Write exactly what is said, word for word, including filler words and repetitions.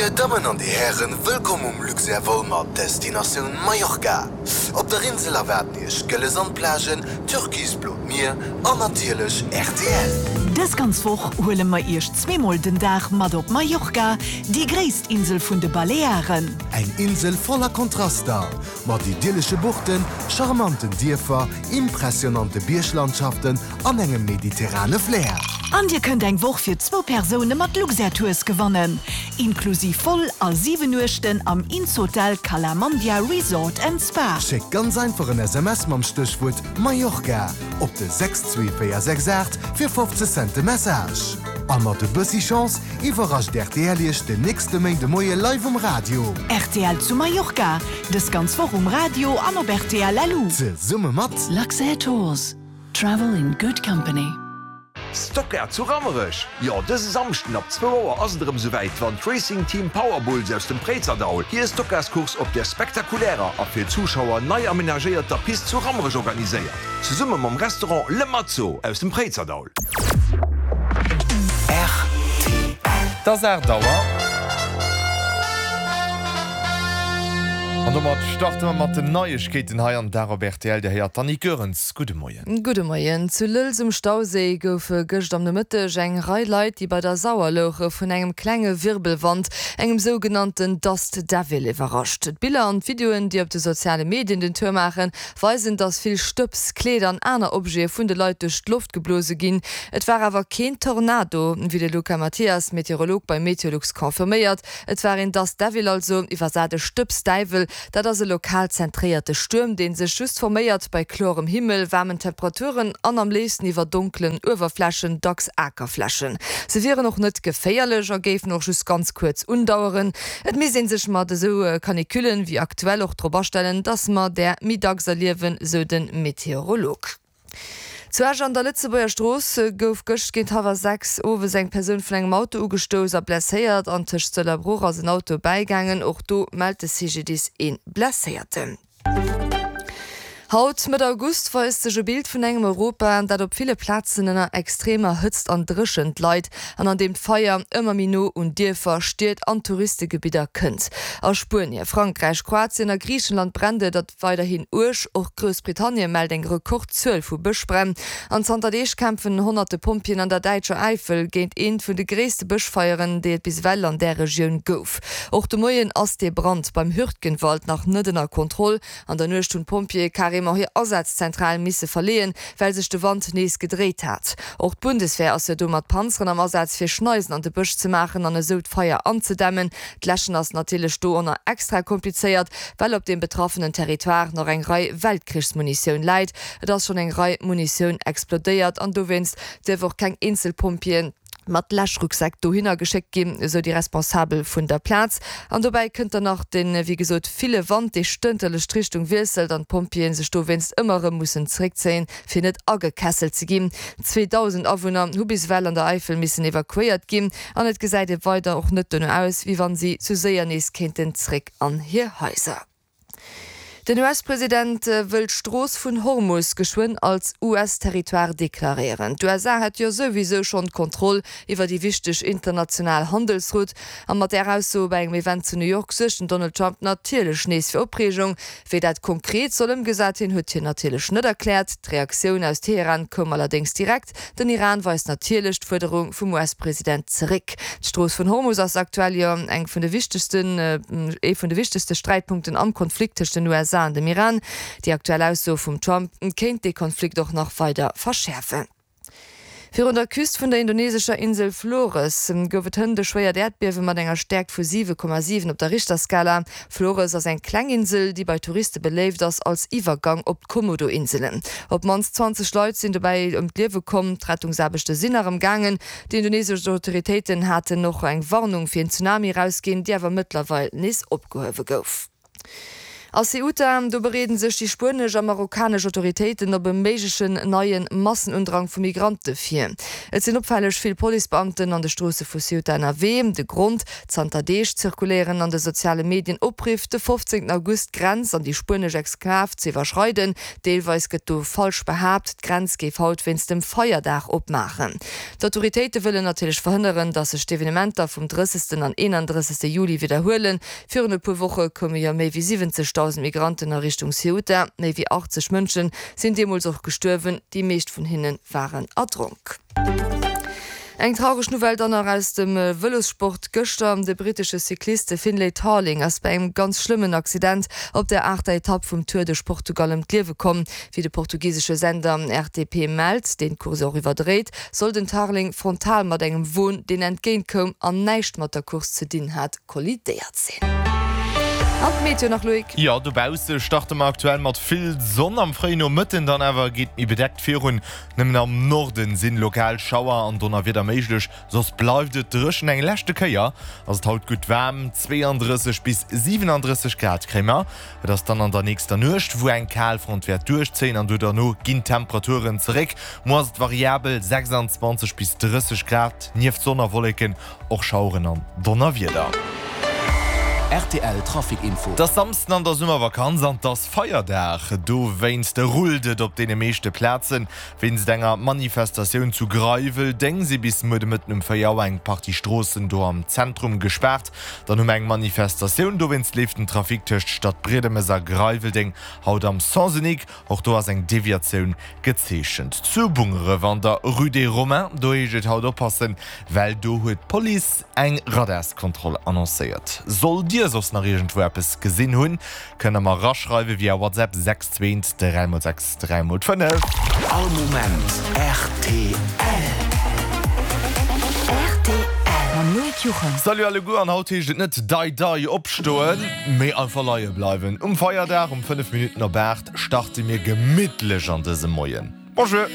Dir Dammen an Dir Hären, wëllkomm um Luxair Vol mat Destinatioun Mallorca. Op der Insel erwaarden Iech gëlle Sandplagen, türkisblot Mier an natierlech rtl. Dës ganz Woch huele mer Iech zweemol den Dag mat op Mallorca, déi gréisst Insel vun de Balearen. Eng Insel voller Kontraster, mat idyllesche Buchten, charmanten Dierfer, impressionante Bierglandschaften an engem mediterrane Flair. An Dir kënnt eng Woch fir zwou Persoune mat Luxair Tours gewannen, inklusiv Vol a siwen Nuechten am Insotel Cala Mandia Resort and Spa. Schéckt ganz einfach en S M S mam Stéchwuert Mallorca op de sechs zwee véier sechs aacht fir fofzeg Cent de Message. A mat e bëssi Chance iwwerrascht rtl Iech den nächste Méindemoie live um Radio. Rtl zu Mallorca, dës ganz Woch um Radio an op rtl L U. Zesumme mat Luxair Tours. Travel in good company. Stocker zu Rammerech. Jo, dëse Samschden ab zwou Auer ass et erëm souwäit, wann d'Racing Team Powerbulls aus dem Préizerdaul hir Stockcarskurs op der spektakulärer a fir Zuschauer nei amenagéierter Pist zu Rammerech organiséiert. Zesumme mam Restaurant Le Mazzo aus dem Préizerdaul. R T L. Et ass aacht Auer. An domat starte mer mat den Neiegkeeten hei am Dag op R T L. Dir héiert d'Annick Goerens. Gudde Moien. Gudde Moien. Zu Lëlz um Stauséi goufe gëscht am Nomëtteg eng Rei Leit, déi bei der Sauer louche, vun engem klenge Wirbelwand, engem sougenannten Dust Devil, iwwerrascht. D'Biller an d'Videoen, déi op de soziale Medien den Tour maachen, weisen, dass vill Stëbs, Kleeder an aner Objete vun de Leit duerch d'Loft geblose ginn. Et war awer keen Tornado, wéi de Luca Mathias, Meteorolog bei Meteolux, confirméiert. Et war een Dust Devil, also iwwersat e Stëbsdäiwel. Dat ass e lokal zentréierte Stuerm, dee sech just forméiert bei klorem Himmel, waarmen Temperaturen an am léifsten iwwer donkelen Uewerflächen, dacks Akerflächen. Se wieren och net geféierlech a géifen och just ganz kuerz undaueren. Et misst ee sech mat esou Canicullen wéi aktuell och drop astellen, dass mer där méi dacks erliewen, sou de Meteorolog. Zu Esch an der Lëtzebuerger Strooss gouf gëscht géint hallwer sechs owes eng Persoun vun engem Auto ugestouss a blesséiert. An tëscht Sëll a Bruch ass en Auto bäigaangen. Och do mellt de C G D I S een Blesséierten. Haut, Mëtt August, weist sech e Bild vun engem Europa, dat op ville Plazen ënner extremer Hëtzt an Dréchent leit an an deem d'Feier ëmmer méi no un Dierfer, Stied an Touristegebidder kënnt. A Spuenie, Frankräich, Kroatien a Griichenland brennt et dat weiderhin uerg. Och Groussbritannien mellt eng Rekordzuel vu Bëschbränn. An zanter Deeg kämpfen honnerte Pompjeeën an der däitscher Äifel géint eent vun de gréisste Bëschfeieren, déi et bis ewell an där Regioun gouf. Och de Moien ass dee Brand beim Hürtgenwald nach net ënner Kontroll. An der Nuecht hunn d'Pompjeeë carrément hir Asazzentral misse verleeën, well sech de Wand nees gedréit hat. Och d'Bundeswehr ass jo do mat Panzeren am Asaz fir Schneisen an de Bësch ze maachen an esou d'Feier anzedämmen. D'Läschen ass natierlech do ënner extra komplizéiert, well op dem betraffenen Territoire nach eng Rei Weltkrichsmunitioun läit. Et ass schonn eng Rei Munitioun explodéiert an dowéinst dierf och keng Eenzelpompjeeën mat Läschrucksäck dohinner geschéckt ginn, esou déi Responsabel vun der Plaz. An dobäi kënnt dann nach den, wéi gesot, ville Wand, dee stënterlech d'Richtung wiesselt an d'Pompjeeën sech dowéinst ëmmer erëm mussen zeréckzéien, fir net agekesselt ze ginn. zweedausend Awunner hu bis ewell an der Eifel missen evakuéiert ginn an et gesäit e weider och net dono aus, wéi wann si zu séier nees kéinten zeréck an hir Haiser. Den U S-President wëll d'Strooss vun Hormus geschwënn als U S-Territoire deklaréieren. D'U S A hätt jo souwisou schonn d'Kontroll iwwer déi wichteg international Handelsroute. A mat där Ausso bei engem Event zu New York suergt den Donald Trump natierlech nees fir Opreegung. Wéi dat konkret soll ëmgesat ginn, huet hien natierlech net erkläert. D'Reaktioun aus Teheran koum allerdéngs direkt. Den Iran weist natierlech d'Fuerderung vum U S-President zeréck. D'Strooss vun Hormus ass aktuell jo eng vun de wichtegsten, ee vun de wichtegste Sträitpunkten am Konflikt tëscht den U S A an dem Iran. Déi aktuell Ausso vum Trump kéint de Konflikt och nach weider verschäerfen. Virun der Küst vun der indonesescher Insel Flores gouf et hënt e schwéiert Äerdbiewe mat enger Stäerkt vu siwe Komma siwen op der Richterskala. Flores ass eng kleng Insel, déi bei Touriste beléift ass als Iwwergang op d'Komodo-Inselen. Op d'mannst zwanzeg Leit sinn dobäi ëm d'Liewe komm, d'Rettungsaarbechte sinn nach am gaangen. Déi indonesesch Autoritéiten haten och eng Warnung fir en Tsunami rausginn, déi awer mëttlerweil nees opgehuewe gouf. A Ceuta, do bereeden sech déi spuenesch a marokkanesch Autoritéiten op e méiglechen neie Massenundrang vu Migrante vir. Et sinn opfälleg vill Policebeamten an de Stroosse vu Ceuta ënnerwee. De Grond, Zanter Deeg zirkuléieren an de soziale Medien Opriff, de fofzéngten August d'Grenz an déi spuenesch Exklav ze iwwerschreiden. Deelweis gëtt do falsch behaapt, d'Grenz géif haut wéinst dem Feierdag opmaachen. D'Autoritéite wëllen natierlech verhënneren, datt sech d'Evenementer vum drëssegsten an eenandrëssegste Juli widderhuelen. Virun e puer Woche koume jo méi wéi siwwenzegdausend Migranten a Richtung Ceuta. Méi wéi achtzeg Mënsche sinn deemools och gestuerwen, déi meescht vun hinne waren erdronk. Eng traureg Nouvelle dann nach aus dem Vëlossport gëschter, De brittesche Cycliste Finlay Tarling ass bei engem ganz schlëmmen Accident op der aachter Etapp vum Tour duerch Portugal ëm d'Liewe komm. Wéi de portugisesche Sender R T P mellt, deen d'Course och iwwerdréit, soll den Tarling frontal mat engem Won, deen entgéint koum an näischt mat der Course ze dinn hat, kollidéiert sinn. An d'Meteo nach, Loïc? Jo, dobausse starte mer aktuell mat vill Sonn, am fréien Nomëtten dann awer geet méi bedeckt virun. Nëmmen am Norden sinn lokal Schauer an Donnerwieder méiglech, soss bleift et dréchen. Eng leschte Kéier ass et haut gutt waarm, zwéiandrësseg bis siwenandrësseg Grad kréie mer. Et ass dann an der nächster Nuecht, wou eng Kalfront wäert duerchzéien an do derno ginn d'Temperaturen zeréck. Muer ass et variabel, sechsanzwanzeg bis drësseg Grad, nieft Sonn a Wolleken och Schaueren an Donnerwieder. Rtl Trafic Info. Et ass Samsden an der Summervakanz an et ass Feierdag. Dowéinst rullt et op deene meeschte Plazen. Wéinst enger Manifestatioun zu Greiweldeng si bis muer de Mëtten um véier Auer eng Partie Stroossen do am Zentrum gespaart. Dann hu mer eng Manifestatioun, dowéinst leeft den Trafic tëscht Stadbriedemes a Greiweldeng haut am Sens unique. Och do ass eng Deviatioun gezeechent. Zu Bungeref an der Rue des Romains, do heescht et haut oppassen, well do huet d'Police eng Radarskontroll annoncéiert. Sollt Dir soss nach iergendwou eppes gesinn hunn, kënnt der mer eraschreiwe via WhatsApp sechs zwee eent dräi mol sechs dräi mol fënnef. All Moment rtl. Rtl mam Loïc Juchem. Salut alleguer, an haut heescht et net dei dei opstoen, mee einfach leie bleiwen. Um Feierdag um fënnef Minutten op aacht starte mir gemittlech an dëse Moien. Bonjour!